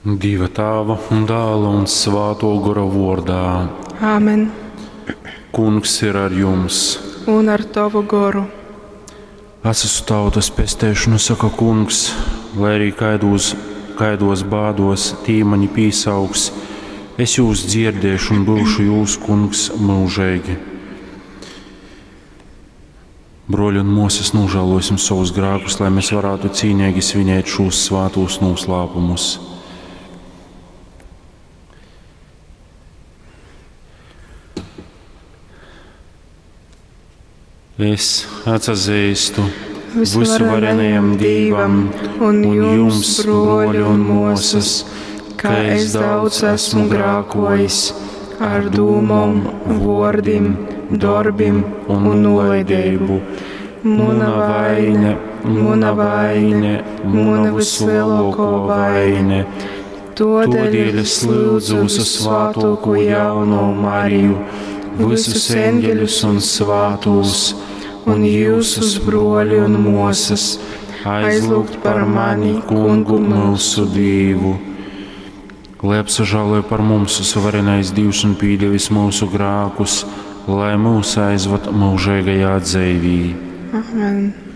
Dieva Tāva un Dāla un Svāto Gora vordā. Āmen. Kungs ir ar jums. Un ar tavu goru. Es esmu tautas pesteišanu, saka kungs, lai arī kaidos, kaidos bādos tī mani pīsaugs, es jūs dzirdēšu un būšu jūs kungs mūžīgi. Broļi un māsas, nožēlosim savus grēkus, lai mēs varētu cīnīgi svinēt šos svātos noslēpumus. Es atzīstu visuvarenajam Dievam un jums, broļi un māsas, ka es daudz esmu grākojis ar dūmom, vārdiem, darbiem un nolaidību. Muna vaine, muna vaine, muna vislielāko vaine. Todēļ es lūdzu visu svātoko jauno Mariju, visus eņģeļus un svātos, un jūsus broļi un mosas, aizlūgt par mani, kungu mūsu Dievu. Lai apsažāloja par mums suverenais Dievs un pīdevis mūsu grākus, lai mūs aizvad mūžīgajā dzīvī. Amen.